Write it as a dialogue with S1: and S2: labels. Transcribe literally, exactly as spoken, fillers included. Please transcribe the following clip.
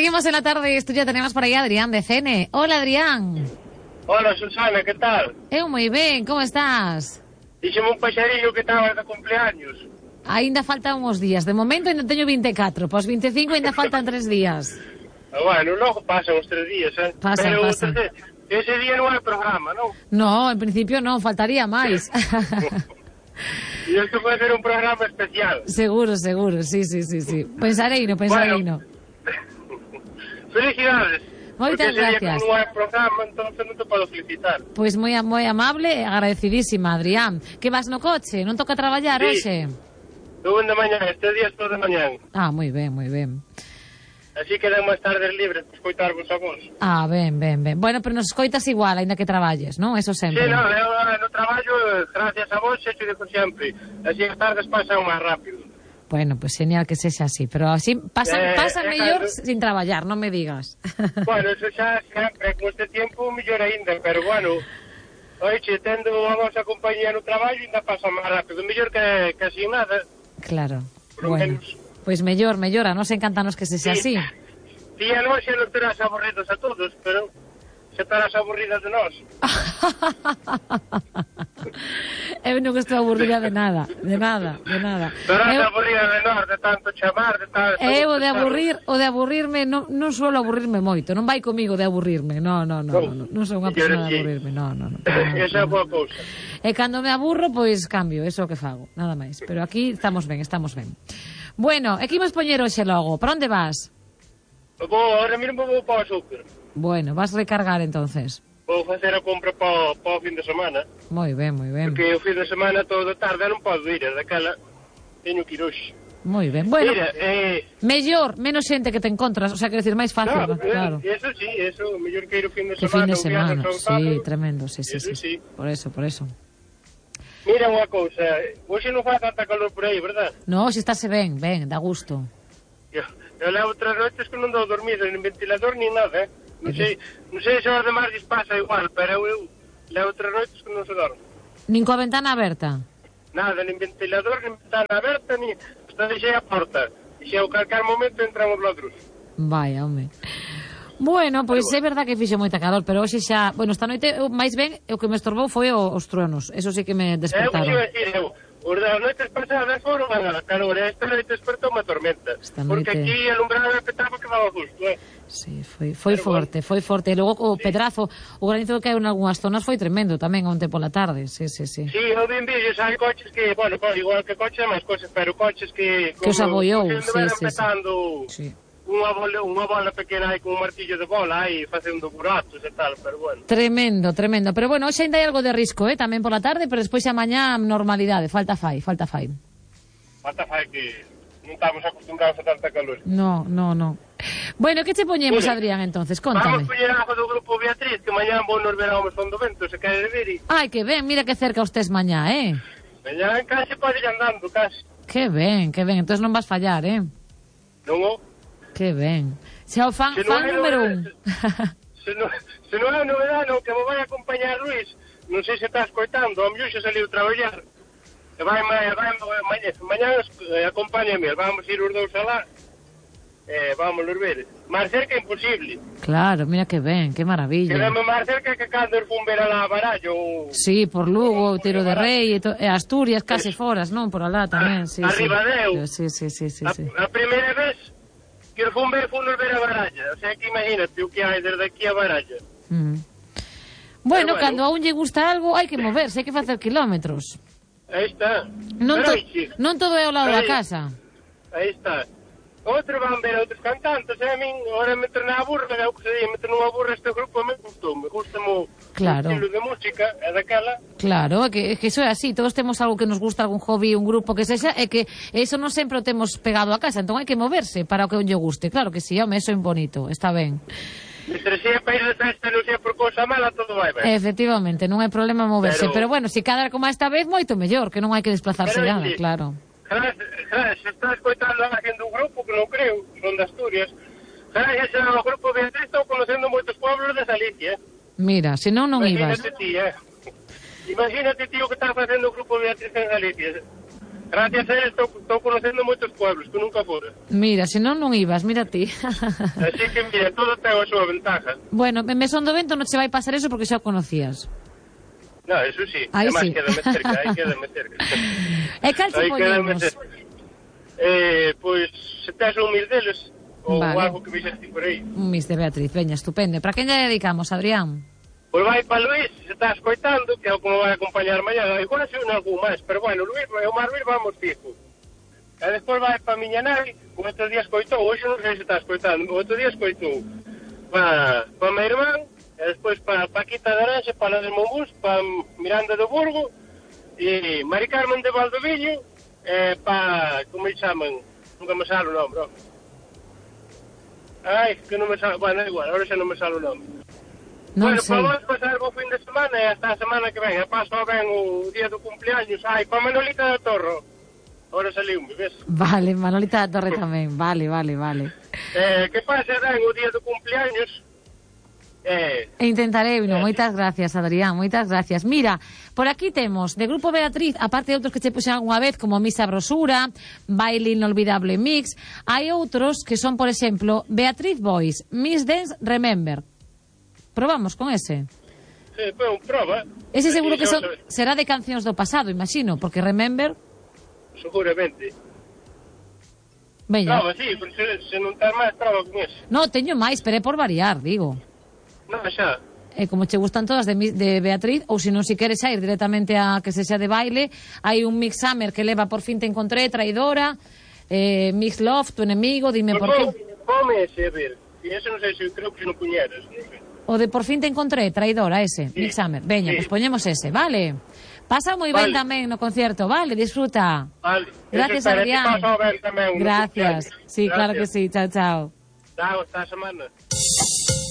S1: Seguimos en la tarde, esto ya tenemos por aí a Adrián de C N. Hola, Adrián.
S2: Hola, Susana, que tal?
S1: Eu moi ben, como estás?
S2: Díxeme un paxarillo que estaba de cumpleaños.
S1: Ainda faltan uns días, de momento ainda teño vinte e catro, pos vinte e cinco ainda faltan tres días.
S2: Bueno, logo pasan os tres días, eh?
S1: Pasan,
S2: Pero
S1: pasan.
S2: Ese, ese día non hai programa, non?
S1: No, en principio non, faltaría máis.
S2: E isto pode ser un programa especial.
S1: Seguro, seguro, sí, sí, sí, sí. Pensareino, pensareino.
S2: Bueno, felicidades.
S1: Moitas
S2: porque ese
S1: gracias.
S2: día como non hai programa, entonces non te podo felicitar.
S1: Pois moi moi amable e agradecidísima, Adrián. Que vas no coche? Non toca traballar
S2: Sí.
S1: hoxe?
S2: Estou de mañá, este día estou de mañá.
S1: Ah, moi ben, moi ben.
S2: Así que dan máis tardes libres para escoitarvos a vos.
S1: Ah, ben, ben, ben. Bueno, pero nos escoitas igual, ainda que traballes, non? Eso sempre.
S2: Sí, no, eu no traballo, gracias a vos, hecho de sempre. Así as tardes pasan máis rápido.
S1: Bueno, pues genial que sexa así, pero así pasa,
S2: Eh,
S1: pasa
S2: eh,
S1: mellor
S2: claro.
S1: sin traballar, non me digas.
S2: Bueno, eso xa sempre, con este tempo, mellor aínda, pero bueno, oiche, tendo a vosa compañía no traballo, ainda pasa máis rápido, mellor que, que así nada.
S1: Claro,
S2: Por lo
S1: bueno.
S2: menos.
S1: Pois pues mellor, mellor, a nos encantanos que sexa así.
S2: Ti a nós xa non terás aburridos a todos, pero xa estarás aburridas de nós.
S1: Eu non estou aburrida de nada, de nada, de nada.
S2: Estarás
S1: Eu,
S2: aburrida de nós, de tanto chamar, de tanto...
S1: eu o de aburrir, o de aburrirme, non, non suelo aburrirme moito, non vai comigo de aburrirme, no, no, no, no, non sou unha persona de aburrirme, no, no, no.
S2: Esa é boa cousa.
S1: E cando me aburro, pois cambio, eso é o que fago, nada máis. Pero aquí estamos ben, estamos ben. Bueno, e que imos poñer hoxe logo? Para onde vas?
S2: Vou, ahora mesmo vou para o súper.
S1: Bueno, vas recargar entonces.
S2: Vou facer a compra para, para o fin de semana.
S1: Moi ben, moi ben.
S2: Porque o fin de semana todo de tarde non podo ir, daquela teño que ir hoxe.
S1: Moi ben. Bueno,
S2: Mira, eh...
S1: mellor, menos xente que te encontras, o sea, quero decir, máis fácil,
S2: no,
S1: ¿no? Claro.
S2: Eso sí, eso, mellor que ir o fin de
S1: Que
S2: semana.
S1: fin de
S2: un viernes
S1: semana,
S2: ou un
S1: sí,
S2: sábado.
S1: tremendo, sí, sí,
S2: Eso
S1: sí,
S2: sí.
S1: Por eso, por eso.
S2: Mira unha cousa, hoxe non faz tanta calor por aí, verdad?
S1: No, se estáse ben, ben, dá gusto.
S2: Eu, eu levo tres noites que non dou dormido, nin ventilador, nin nada, eh? Non sei, non sei se aos demais lles pasa igual, pero eu levo tres noites que non se dorme.
S1: Nin coa ventana aberta.
S2: Nada, nin ventilador, nin ventana aberta, nin... Está deixei a porta. E se ao calcar momento entran os ladros.
S1: Vaya, home. Bueno, pois é verdad que fixo moita calor, pero hoxe xa... Bueno, esta noite, eu, máis ben, o que me estorbou foi o, os truenos. Eso sí que me
S2: Eu
S1: despertaron.
S2: iba a decir, eu, os das noites pasadas foron a calor, e esta noite despertou unha tormenta.
S1: Esta
S2: Porque
S1: noite-
S2: aquí alumbrado petaba que daba justo, eh?
S1: Sí, foi, foi
S2: Pero
S1: forte, foi forte. E logo o pedrazo, o granizo que hai en algunhas zonas foi tremendo tamén onte pola tarde. Sí, sí, sí.
S2: Sí, eu vi vídeos, hai coches que, bueno, igual que coches, máis coches, pero coches que...
S1: Que os abollou,
S2: como
S1: sí,
S2: se andaban
S1: sí, sí.
S2: petando
S1: Sí.
S2: unha bola, unha bola pequena aí con un martillo de bola aí facendo buratos e tal, pero bueno.
S1: Tremendo, tremendo. Pero bueno, hoxe ainda hai algo de risco, eh, tamén pola tarde, pero despois xa mañá normalidade, falta fai, falta fai.
S2: Falta fai que non estamos acostumbrados a tanta calor.
S1: No, no, no. Bueno, que che poñemos,
S2: Bueno,
S1: Adrián, entonces?
S2: Vamos
S1: Contame.
S2: poñer algo do grupo Beatriz, que mañá vou nos ver ao Mesón do Vento, se quere ver e...
S1: Ai, que ben, mira que cerca ustés mañá, eh?
S2: Mañá en case pode ir andando, case.
S1: Que ben, que ben, entonces non vas fallar, eh?
S2: Non o...
S1: Que ben. Xa o fan,
S2: Se non
S1: fan
S2: hai
S1: número un.
S2: novedade- Se non, se non hai novedade, non, que me vai acompañar Luis, non sei se está escoitando, a mellor xa saliu traballar. E vai, vai, vai, mañá, mañá eh, acompáñame, vamos ir os dous alá. Eh, vamos nos ver. Máis cerca imposible.
S1: Claro, mira que ben, que maravilla.
S2: Quedame máis cerca que cando fun ver a la Barallo.
S1: Sí, por Lugo, Tiro de Rei, e, to, e Asturias case foras, non? Por alá tamén, sí, sí.
S2: Arriba deu.
S1: Sí, sí, sí, sí,
S2: A,
S1: sí.
S2: a primeira vez que fun ver, fun nos ver a Baralla. O sea que imagínate o que hai desde aquí a Baralla.
S1: Mm. Bueno,
S2: bueno.
S1: cando a un lle gusta algo, hai que moverse, hai que facer kilómetros.
S2: Aí está.
S1: Non,
S2: Pero
S1: to,
S2: aí, sí.
S1: non todo é ao lado da
S2: Aí.
S1: casa.
S2: Aí está. Outros van ver a outros cantantes, e a min, ahora me torna a burra, é o que se di, me torna a burra este grupo, me gustou, me gusta mo
S1: Claro.
S2: o estilo de música, é daquela.
S1: Claro, é que, é que iso é así, todos temos algo que nos gusta, algún hobby, un grupo que sexa, é que eso non sempre o temos pegado a casa, entón hai que moverse para o que un lle guste. Claro que sí, home, eso é bonito, está ben.
S2: Entre si é para ir de festa, non sei por cousa mala, todo vai ben.
S1: Efectivamente, non hai problema moverse, pero,
S2: Pero-
S1: bueno, se cada como esta vez, moito mellor, que non hai que desplazarse
S2: Pero,
S1: nada,
S2: sí.
S1: claro.
S2: Jara, jara, se está escoitando a alguén dun grupo, que non creo, son de Asturias, jara, ese é o grupo Beatriz, estou conocendo moitos pueblos de Galicia.
S1: Mira, se non, non ibas.
S2: Imagínate ti, eh. Imagínate ti o que está facendo o grupo Beatriz en Galicia. Gracias a él estou conocendo moitos pueblos que nunca fora.
S1: Mira, se non, non ibas, mira ti.
S2: Así que, mira, todo ten a súa ventaja.
S1: Bueno, en Mesón do Vento non che vai pasar eso porque xa o conocías.
S2: No, eso sí.
S1: Aí
S2: Además,
S1: sí.
S2: quédame cerca, aí quédame cerca.
S1: E cal che poñemos?
S2: Eh, pois, se tes un mil deles, ou
S1: Vale.
S2: algo que vixeste por aí.
S1: Un Miss de Beatriz, veña, estupendo. Para quen lle dedicamos, Adrián?
S2: Pois vai para Luís, se está escoitando, que é o que me vai acompañar mañá. Igual se un algún máis, pero bueno, Luís, o Mar Luís vamos fijo. E despois vai para a miña nai, o outro día escoitou, hoxe non sei se está escoitando, o outro día escoitou para, para a minha irmán, e despois para Paquita de Aranxa, para la de Monbús, para Miranda do Burgo, e Mari Carmen de Valdoviño, e para, como se chaman, nunca me sale o nome, bro. Ai, que non me sale, bueno, igual, agora xa non me sale o nome.
S1: Non
S2: Bueno,
S1: sei.
S2: para vos pasar o fin de semana e hasta a semana que ven. E paso ben o día do cumpleaños. Ai, para Manolita da Torro. Ahora saliu-me, ves?
S1: Vale, Manolita da Torre tamén. Vale, vale, vale.
S2: Eh, que pase ben o día do cumpleaños. Eh,
S1: E intentarei, no, moitas gracias, Adrián, moitas gracias. Mira, por aquí temos de Grupo Beatriz, aparte de outros que che puxen algunha vez, como Miss Sabrosura, Baile Inolvidable Mix, hai outros que son, por exemplo, Beatriz Boys, Miss Dance Remember. Probamos con ese.
S2: sí, pues, proba.
S1: Ese seguro que
S2: E xa
S1: son,
S2: o sabe-
S1: será de cancións do pasado, imagino, porque Remember...
S2: Seguramente.
S1: Veña.
S2: Prova, sí, pero se, se non ten máis, prova con eso.
S1: No, teño máis, pero é por variar, digo.
S2: Non, xa.
S1: E como che gustan todas de, Mi- de Beatriz, ou se non si queres a ir directamente a que se xa de baile, hai un Mix Summer que leva Por fin te encontré, Traidora, eh, Mix Love, Tu enemigo, Dime por qué.
S2: Come ese, a ver. E ese non sei se creo que se non puñeras. Non sei.
S1: O de Por fin te encontré, Traidora, ese,
S2: Sí.
S1: Mix Summer. Veña,
S2: Sí.
S1: pues poñemos ese, vale? Pasa moi ben
S2: Vale.
S1: tamén no concerto, vale? Disfruta.
S2: Vale.
S1: Gracias,
S2: Eso, espera,
S1: Adrián.
S2: que paso ben tamén no
S1: Gracias.
S2: cumpleaños.
S1: Sí, claro que
S2: Gracias.
S1: sí. Chao, chao.
S2: Chao, hasta a semana.